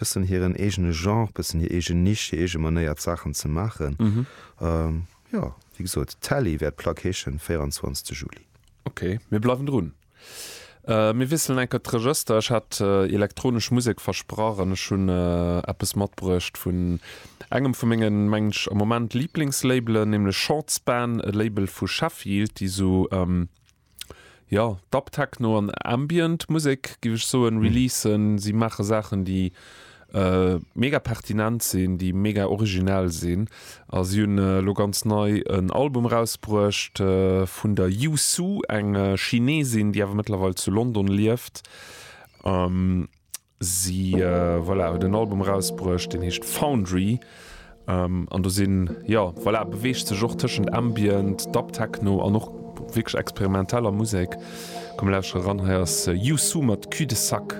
Bëssen hiren eegene Genre, bëssen hir eegen Nisch, hir eege Manéier d'Saachen ze maachen. Jo, wéi gesot, Tally wäert d'Plack heeschen, 24 Juli. Ok, mir bleiwen drun. Mir wiesselen eng Kéier d'Regëster. Ech hat elektronesch Musek versprach an ech hunn eppes matbruecht vun engem vu mengen, mengen ech, am Moment Liblingslabelen, nämlech Shortspan, e Label vu Sheffield, déi sou, jo, Dub Techno an Ambient Musek, géif ech soen, releasen. Si maache Saachen, déi mega pertinent sinn, déi mega originell sinn. A si hunn elo ganz nei en Album erausbruecht vun der Yu Su, eng Chinesin, déi awer mëttlerweil zu London lieft. Si, voilà, huet en Album erausbruecht, deen heescht Foundry. An do sinn, jo, voilà, beweegt sech och tëschent Ambient, Dub Techno an och wierklech experimenteller Musek. Komm mir lauschtere ran, hei ass Yu Su mat Cul de Sac.